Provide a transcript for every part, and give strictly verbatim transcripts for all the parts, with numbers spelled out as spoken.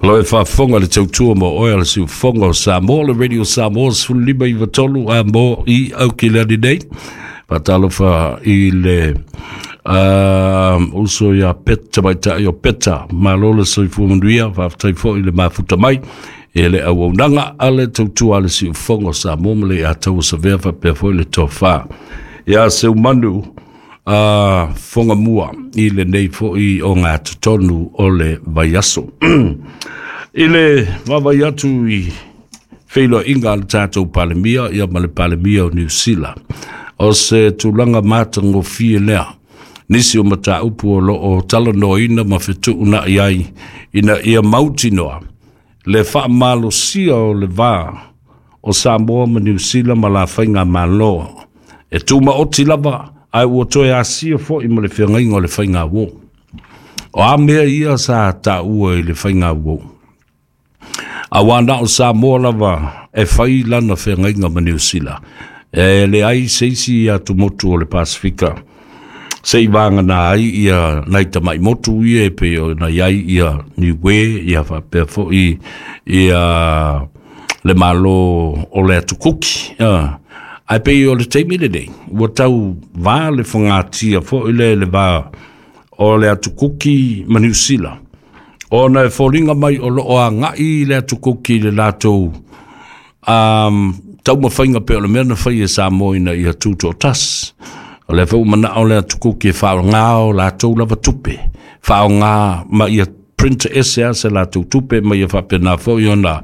Lo e faafofoga le tautua ma oe a le siufofoga o Samoa, le Radio Samoa sefululima iva tolu a mo i Aukilani nei. Faatalofa i le uh, uso ia Peta Maitai o Peta, malo le soifua manuia, faafetai foi le mafuta mai e le auaunaga a le tautua a le siufofoga o Samoa ma le ataua savea faapea foi le tofa ia Seumanu a foga mua i lenei foi o ngā totonu o le vaiaso. I le vaavaai atu i feiloaiga a le tatou Palemia ia ma le Palemia o Niu Sila, o se tulaga matagofie lea nisi o mataupu o loo talanoaina ma fetuunai ai ina ia mautinoa le faamalosia o le va o Samoa ma Niu Sila ma la faigamalo e tumaoti lava ae ua toe asia foi ma le feagaiga o le faigauō. O a mea ia sa taua i le faigauō? Auā na o Samoa lava e fai lana feagaiga ma Niu Sila. E leai se isi atumotu o le Pasifika se i vagana ai ia nai tama'i motu ia e pei ona i ai ia Niue ia faapea foi ia le Malo o le Atukuki. Ae pei o le taimi lenei ua tau va le fagatia foi le le va o le Atukuki ma Niu Sila, ona e foliga mai o loo agai le Atukuki i le latou um, taumafaiga pei o le mea na fai e Samoa ina ia tutoatasi. O lea foi ua manao le Atukuki e faaaogā o latou lava tupe, faaaogā ma ia print ese a se latou tupe ma ia faapena foi ona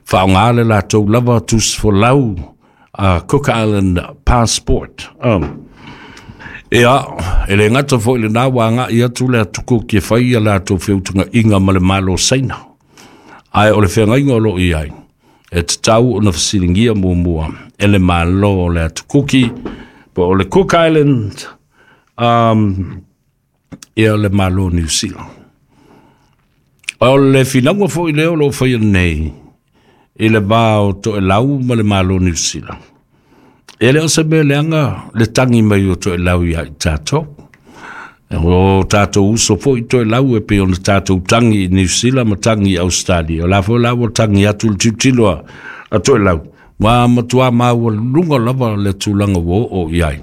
faaaogā le latou lava tusifolau uh, Cook Island passport. Um, ia, e le gata foi lenā ua agai atu le Atukuki e fai ia latou feutagaiga ma le Malo Saina. Ae o le feagaiga o loo i ai, e tatau ona fesiligia muamua e le Malo o le Atukuki po o le Cook Island um, ia le Malo Niu Sila. O le finauga foi lea o loo faia nei i le va o Toelau ma le Malo Niu Sila. E le o se mea leaga le tagi mai o Toelau ia i tatou. O tatou uso foi Toelau e pei ona tatou tagi i Niu Sila ma tagi i Australia. O la foi la ua tagi atu le tilotilo a, a Toelau. Ua matuā maualuga lava le tulaga ua oo i ai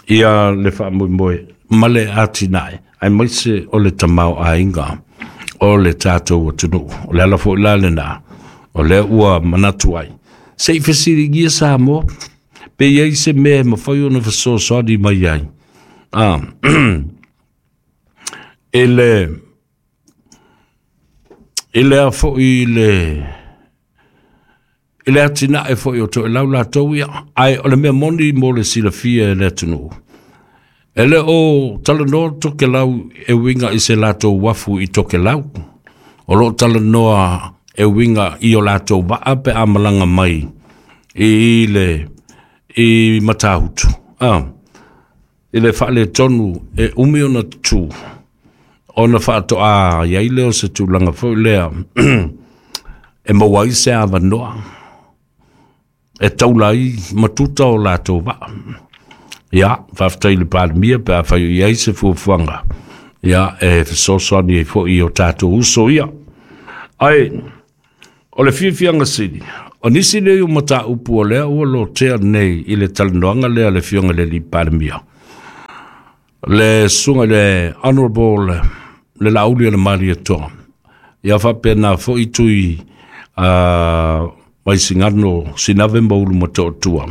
ia le faamoemoe ma le atinae aemaise o le tamaoaiga o le tatou atunuu. O le ala foi la lenā o lea ua manatu ai se i fesiligia Samoa pe i ai se mea e mafai ona fesoasoani mai ai ah, i le i lea foi le i le atinae foi o Toelau latou ia. Ae o le mea moni mo le silafia e le atunuu, e le o talanoa Tokelau e uiga i se latou uafu i Tokelau. O loo talanoa e uiga i o latou vaa pe a malaga mai i le i Matahutu. Ah, i le faaletonu e umi ona tutū ona faatoa i ai lea o se tulaga foi lea e maua ai se avanoa e taula ai matuta o latou vaa. Ia, faafetai i le Palemia pe afai o i ai se fuafuaga ia e fesoasoani ai foi i o tatou uso ia. Ae o le fiafiaga sili, o nisi nei o mataupu o lea ua lotea nei i le talanoaga lea a le Afioga i le alii Palemia, le susuga i le Honorable le Laauli o le Malietoa, ia faapena foi Tui uh, Vaisigano Sinave ma Ulumotootua.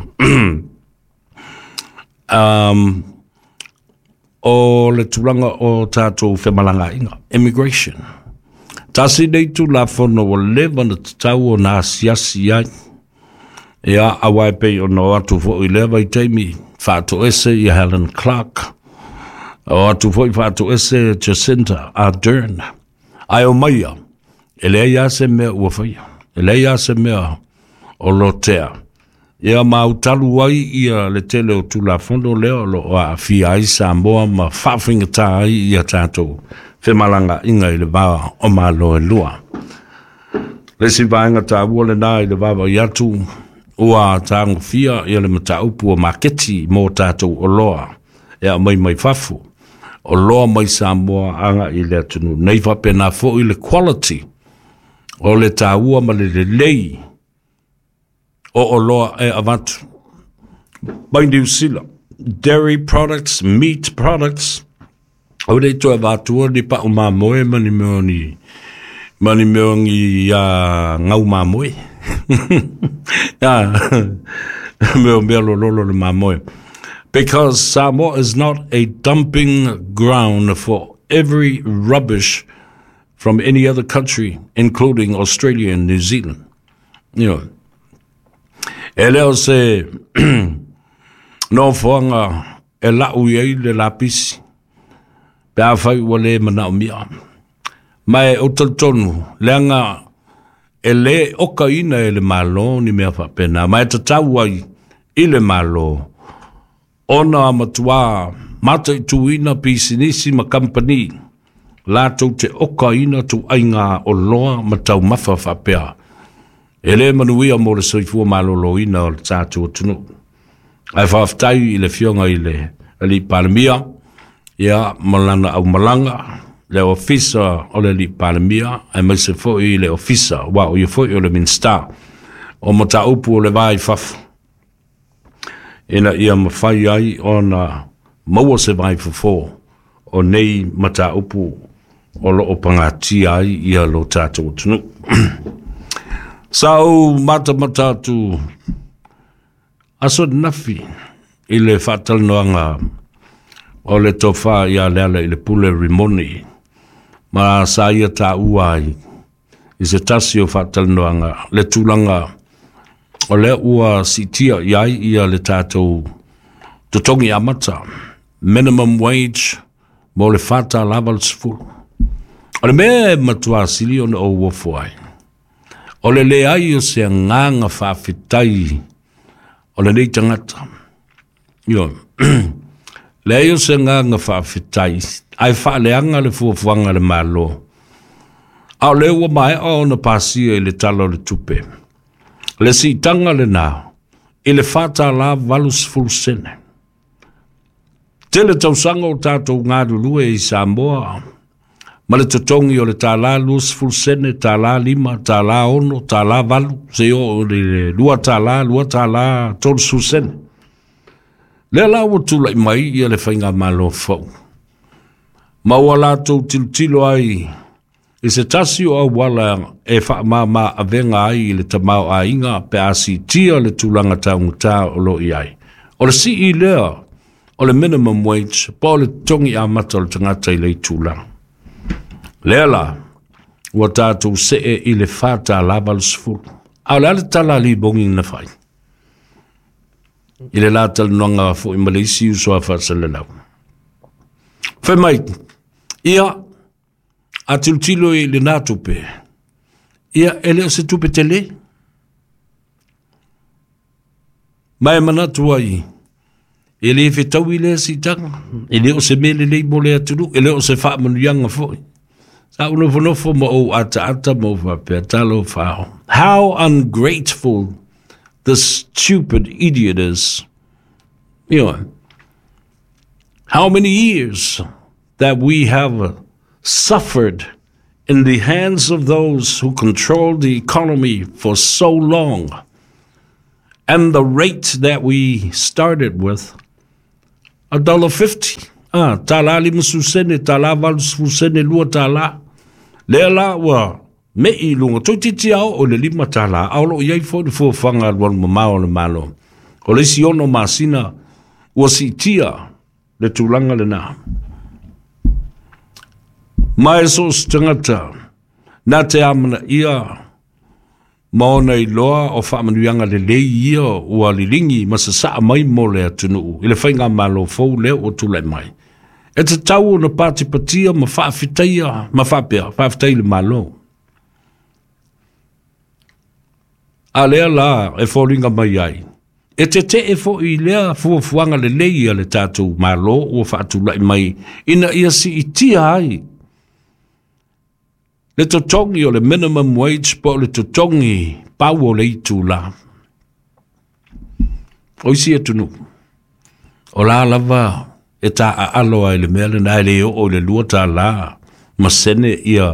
um, o le tulaga o tatou femalagaaiga, immigration. Tasi nei Tulafono ua leva na tatau ona asiasi ai. Ia, auā e pei ona o atu foi i lea vaitaimi faatoese ia Helen Clark, o atu foi faatoese Jacinda Ardern. Ae o maia, e leai lava se mea ua faia, e leai lava se mea o lotea. Ia ma autalu ai ia le tele o Tulafono lea o loo aafia ai Samoa ma faafaigata ai ia tatou femalagaaiga i le va o Malo e lua. Le isi vaega taua lenā i le vaavaai atu ua tagofia ia le mataupu o maketi mo tatou oloa e aumai mai fafo, oloa mai Samoa agai i le atunuu nei, faapena foi le quality O le tāua ma le lelei o oloa e avatu mai Niu Sila, dairy products, meat products, o le toe avatua ni pa'u mamoe ma ni mea ni ma ni mea ni uh, gau mamoe. Mea mea lololo le mamoe. Because Samoa is not a dumping ground for every rubbish from any other country, including Australia and New Zealand. You know, e le o se nofoaga e la'u i ai le lapisi pe afai ua lē manaʻomia. Ma e ou talitonu leaga e lē okaina e le Mālō ni mea faapena, ma e tatau ai i le Mālō ona matuā mataituina pisinisi ma kampani latou te okaina tuaiga oloa ma taumafa faapea e lē manuia mo le soifua malōlōina o le tatou atunuu. Ae faafetai i le Afioga i le Alii Palemia ia ma lana aumalaga, le ofisa o le Alii Palemia, aemaise foʻi le ofisa ua o ia foʻi o le Minisita o Mataupu o le Va i Fafo, ina ia mafai ai ona maua se vai fofō o nei mataupu o loo pagatia ai ia lo tatou atunuu. Sa ou matamata atu aso nafi i le faatalanoaga o le Tofa ia Leala i le Pule Rimoni, ma sa ia taua ai i se tasi o faatalanoaga le tulaga o lea ua siitia i ai ia le tatou totogi amata, minimum wage, mo le fa tālā valusefulu. O le mea e matuā sili ona ou ofo ai, o le leai o se agaga faafetai o lenei tagata. Ioe, leai o se agaga faafetai, ae faaleaga le fuafuaga a le Mālō, a o lea ua maea ona pasia i le Tala o le Tupe le siitaga lenā i le fa tālā valusefulu sene. Tele tausaga o tatou galulue i Samoa ma le totogi o le tālā luasefulu sene, tālā lima, tālā ono, tālā valu, seia oo i le lua tālā, lua tālā tolusefulu sene. Lea la ua tulaʻi mai ia le faigamālō fou, ma ua latou tilotilo ai i se tasi o auala e faamāmā avega ai i le tamaoaiga pe a siitia le tulaga taugatā o loo i ai, o le sii lea o le minimum wage po o le totogi amata o le tagata i le itulagi. Lea la ua tatou see i le fa tālā valusefulu. A o le a le tala a Libogi na fai i le la talanoaga foʻi ma le isi uso a faasalalau? Fai mai ia a tilotilo i lenā tupe ia e le o se tupe telē, ma e manatu ai e lē fetaui lea siitaga, e lē o se mea lelei mo le atunuu, e lē o se faamanuiaga foʻi. Sa ou nofonofo ma ou ataata ma ou faapea, talofa, how ungrateful this stupid idiot is. You know, how many years that we have suffered in the hands of those who controlled the economy for so long, and the rate that we started with, a dollar fifty, ah, tālā limasefulu sene, tālā valusefulu sene, lua tālā. Lea la ua meʻi i luga toeitiiti a oo i le lima tālā, a o loo i ai foʻi le fuafuaga alualumamao o le Mālō. O le isi ono masina ua siitia le tulaga lenā. Ma e so o se tagata na te amanaia ma ona iloa o faamanuiaga lelei ia ua liligi ma sasaa mai mo le atunuu i le faigamālō fou lea ua tulaʻi mai, e tatau ona patipatia ma faafetaia ma faapea faafetai i le Mālō. A lea la e foliga mai ai e teteʻe foʻi i lea fuafuaga lelei a le tatou Mālō ua faatulaʻi mai ina ia siitia ai le totogi o le minimum wage po o le totogi pau o le itulā. O isi atunuu, o la lava e taaalo ai le mea lenā, e lē oo i le lua tālā ma sene ia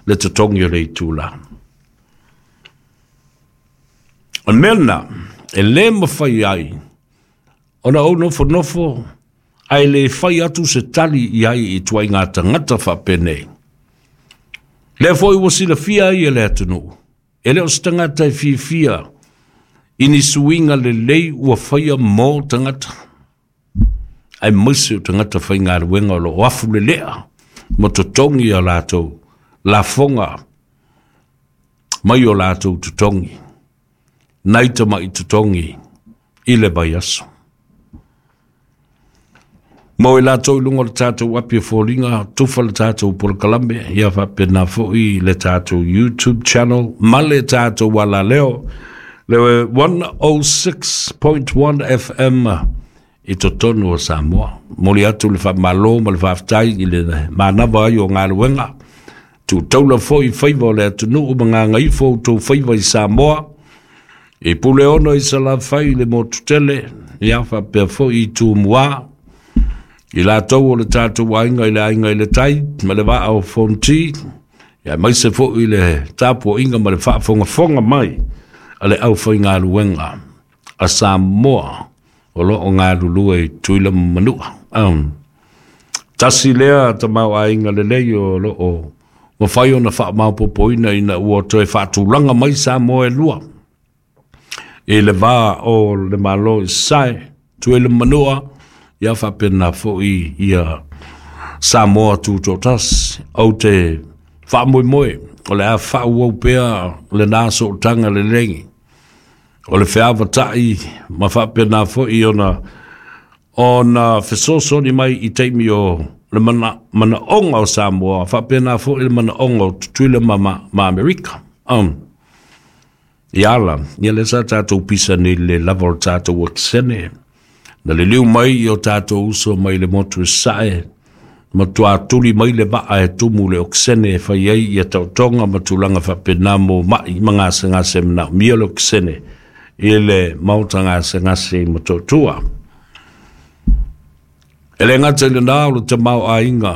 le totogi o le itulā. O le mea lena e lē mafai ai ona ou nofonofo ae lē fai atu se tali i ai i tuaiga tagata faapenei. Lea foi ua silafia ai e le atunuu, e le o se tagata e fiafia i ni suiga lelei ua faia mo tagata, aemaise o tagata faigaluega o loo afu lelea ma totogi a latou lafoga mai o latou totogi nai tama'i totogi i le vaiaso. Mo i latou i luga o le tatou api o foliga, tufa le tatou polokalame, ia faapena foi le tatou YouTube channel ma le tatou alaleo, le one oh six point one F M i totonu o Samoa. Moli atu le faamalo ma le faafetai i le manava ai o galuega. Tuutaula foi faiva o le atunuu ma gagaifo outou faiva i Samoa. I Puleono i Salafai i le motu tele, ia faapea foi i Tumua. I latou o le tatou aiga i le Aiga i le Tai ma le Vaa o Fonoti, ia maise foi le tapuaiga ma le faafogafoga mai a le aufaigaluega a Samoa o loo galulue i Tutuila ma Manua. Um, tasi lea tamaoaiga lelei o loo mafai ona faamaopoopoina ina ua toe faatulaga mai Samoa e lua i le va o le Malo i Sasae, Tutuila ma Manua, ia faapena foi ia Samoa Tutoatasi. Ou te faamoemoe o le a faaauau pea lena sootaga lelei o le feavata'i ma faapena foi ona ona fesoasoani mai i taimi o le mana, manaoga o Samoa, faapena foi le manaoga o Tutuila ma, ma, ma Amerika. Um, ia ala, ia lea sa tatou pisa nei le lava o le tatou okesene. Na liliu mai i o tatou uso mai le motu e Sasae, matuā tuli mai le vaa e tumu le okesene e fai ai ia taotoga ma tulaga faapena mo ma'i ma gasegase manaomia le okesene i le maota gasegase i Motootua. E le gata i lena o le tamaoaiga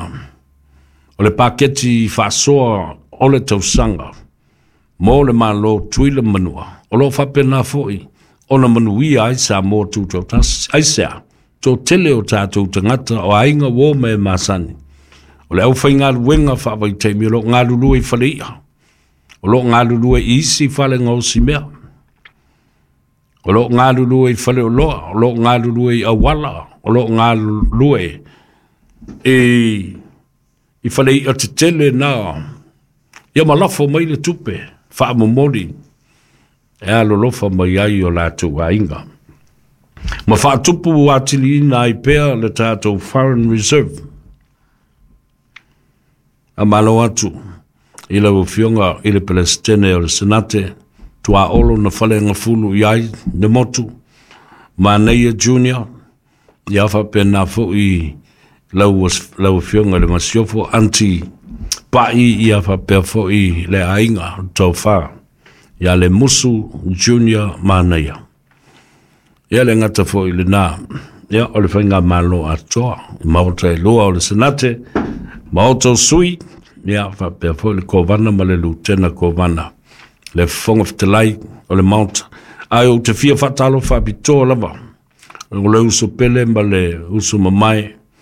o le paketi faasoa o le tausaga mo le Malo Tutuila Manua, o loo faapena foi ona manuia ai Samoa Tutoatasi. Aisea? Toatele o tatou tagata o aiga uo ma e masani o le aufaigaluega faavaitaimi o loo galulue i faleia, o loo galulue i isi fale gaosimea, o loo galulue i faleoloa, o loo galulue i auala, o loo galulue i i falei'a tetele na ia ma lafo mai le tupe faamomoli e alolofa mai ai o latou aiga ma faatupu atiliina ai pea le tatou foreign reserve. A malo atu i lau Afioga i le Peresetene o le Senate, tuaolo na falegafulu i ai le motu Manaia Junior, ia faapena foi lau, lau Afioga i le Masiofo Aunty Pa'i, ia faapea foi le aiga tofa ia le Musu Junior Manaia. Ia le gata foi lena, ia o le faigamalo atoa i maota e lua o le Senate, maota o sui, ia faapea foi le Kovana ma le Lutena Kovana, le Fofoga Fetalai o le Maota. Ae ou te fia faatalofa faapitoa lava o le uso pele ma le uso mamae